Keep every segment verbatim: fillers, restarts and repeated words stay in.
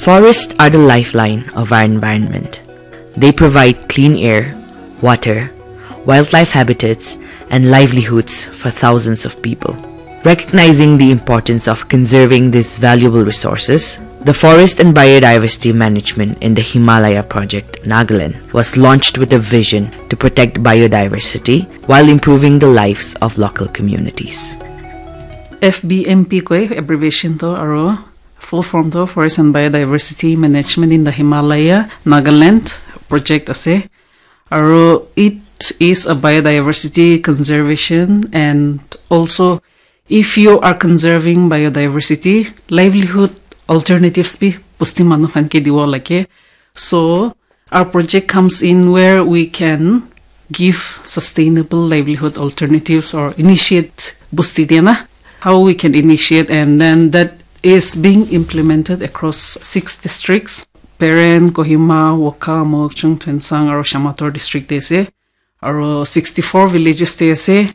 Forests are the lifeline of our environment. They provide clean air, water, wildlife habitats, and livelihoods for thousands of people. Recognizing the importance of conserving these valuable resources, the Forest and Biodiversity Management in the Himalaya Project, Nagaland, was launched with a vision to protect biodiversity while improving the lives of local communities. F B M P koi abbreviation to, aro full form to Forest and Biodiversity Management in the Himalaya, Nagaland project ase. Aro it is a biodiversity conservation and also if you are conserving biodiversity, livelihood alternatives bi bosti manu khan ke diwo lage. So our project comes in where we can give sustainable livelihood alternatives or initiate bosti dia na. How we can initiate, and then that is being implemented across six districts: Peren, Kohima, Wokha, Mokokchung, Tuensang, aro Shamator district te ase. Aro sixty-four villages te ase.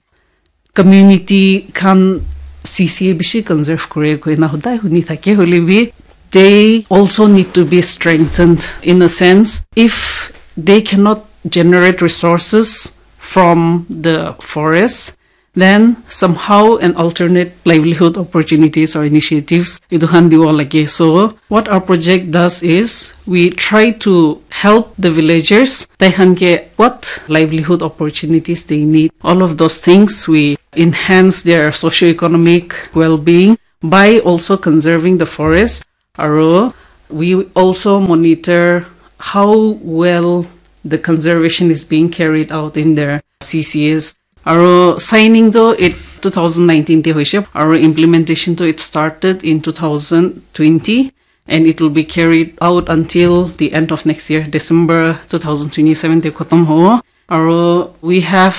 Community khan C C A bishi conserve kore koina hodai huni thake, hoile bi they also need to be strengthened in a sense. If they cannot generate resources from the forest, then somehow an alternate livelihood opportunities or initiatives etu khan diwo lage. So what our project does is we try to help the villagers. Tai khan ke what livelihood opportunities they need, all of those things, we enhance their socio-economic well-being by also conserving the forest. Aro we also monitor how well the conservation is being carried out in their C C As. Aro signing to it two thousand nineteen te hoise, aro implementation to it started in two thousand twenty and it will be carried out until the end of next year, December two thousand twenty-seven te khatam hobo. Aro we have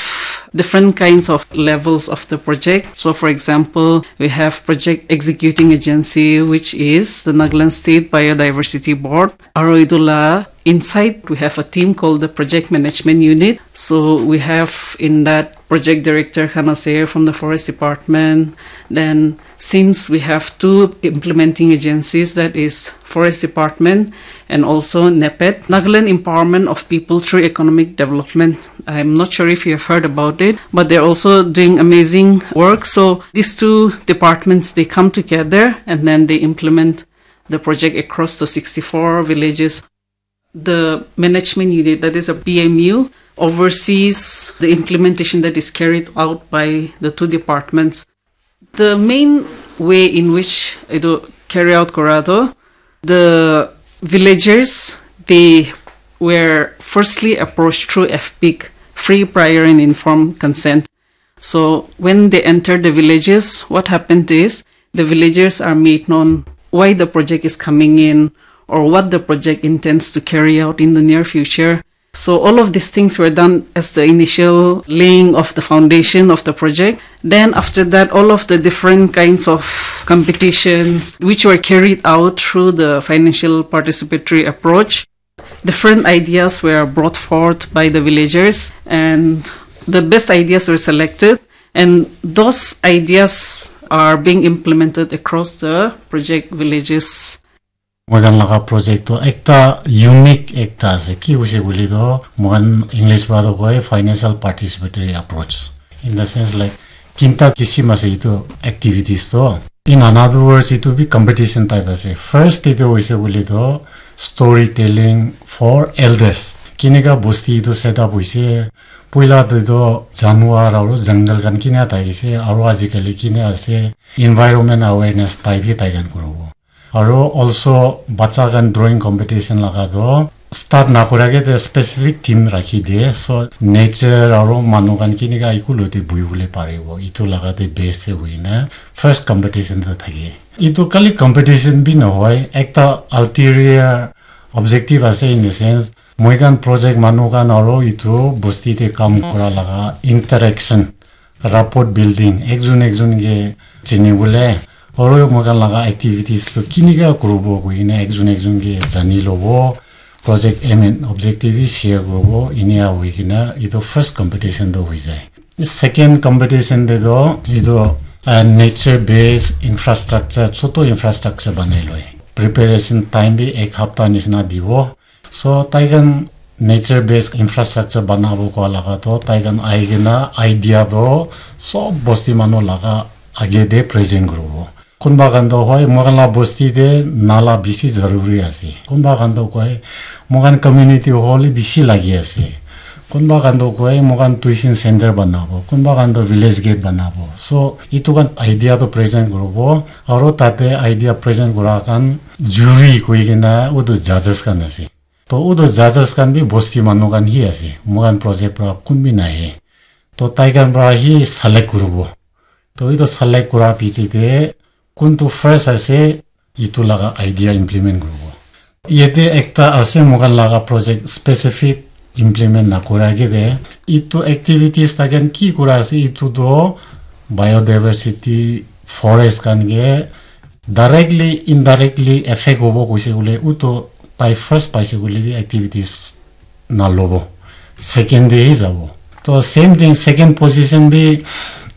different kinds of levels of the project. So for example, we have project executing agency, which is the Nagaland State Biodiversity Board. Aro etu la inside, we have a team called the Project Management Unit. So we have in that project director khan ase from the Forest Department. Then since we have two implementing agencies, that is Forest Department and also NEPED, Nagaland Empowerment of People Through Economic Development. I'm not sure if you have heard about it, but they're also doing amazing work. So these two departments, they come together and then they implement the project across the sixty-four villages. The management unit, that is a P M U, oversees the implementation that is carried out by the two departments. The main way in which etu carry out kora to, the villagers, they were firstly approached through F P I C, free, prior and informed consent. So when they enter the villages, what happened is the villagers are made known why the project is coming in or what the project intends to carry out in the near future. So all of these things were done as the initial laying of the foundation of the project. Then after that, all of the different kinds of competitions which were carried out through the financial participatory approach, different ideas were brought forth by the villagers and the best ideas were selected, and those ideas are being implemented across the project villages. Moikhan laga project to ekta unique ekta ase. Ki hoise koile to, moikhan English para to koi financial participatory approach. In the sense, like, tinta kisim ase etu activities to. In another words, etu bi competition type ase. First te to hoise koile to storytelling for elders. Kineka bosti etu set up hoise. Poila te to januar aru jungle khan kina thakise, aru ajikali kina ase, environment awareness type hi tai khan kuribo. Aru also bacha khan drawing competition laga to start nakura ke te specific theme rakhi diye. So nature aru manu khan kineka eku logote buhi bole paribo, etu laga te base te hoina first competition to thake. Etu khali competition bi nohoi, ekta ulterior objective ase, in the sense, moikhan project manu khan aru etu bosti te kam kura laga interaction, rapport building, ekjon ekjon ke chini bole, aru moikhan laga activities to kineka kuribo koi kena ekjon ekjon ke jani lobo, project aim and objective bi share kuribo, inia hoi kena etu first competition to hoi jai. Second competition te to etu, uh, nature based infrastructure, choto infrastructure banai loi. preparation time bi ek hapta nisina dibo. So tai khan nature based infrastructure banabo koa laga to tai khan ahi kena idea to sob bosti manu laga age de present kuribo. Kunba khan to hoi, moi khan la bosti de nala bishi zaruri ase. Kunba khan to koi, moi khan community hall bishi lagi ase. Kunba khan to koi, moi khan tuition center banabo. Kunba khan to village gate banabo. So itu khan idea to present kuribo. Aro tate idea present kura khan jury koi kena utu judges khan ase. To utu judges khan bi bosti manu khan hi ase. Moi khan project pra kun bi nahi. To tai khan pra hi select kuribo. To itu select kura piche te kuntu first ase itu laga idea implement kuribo. Yate ekta ase moi khan laga project specific implement na kura ke de itu activities ta khan ki kura ase itu to biodiversity forest khan ke directly indirectly affect hobo koise bole utu tai first paise bole bi activities na lobo, second day hi jabo. To same thing, second position bi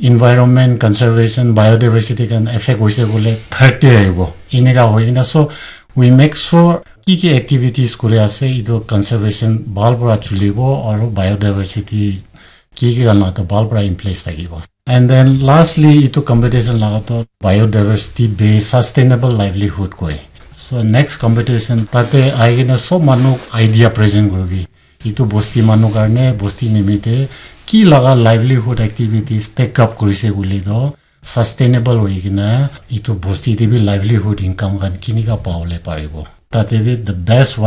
environment conservation biodiversity khan affect hoise bole third day ahibo. Eneka hoi kena so we make sure ki ki activities kuri ase itu conservation bhal para chulibo aru biodiversity ki ki khan to bhal para in place thakibo. And then lastly itu competition laga to biodiversity based sustainable livelihood koi. So next competition tate ahi kena sob manu idea present kuribi. Itu bosti manu karne bosti nimite ki laga livelihood activities take up kurise kuli to sustainable hoi kena itu bosti te bi livelihood income khan kinika pawole paribo. Tate bi the best one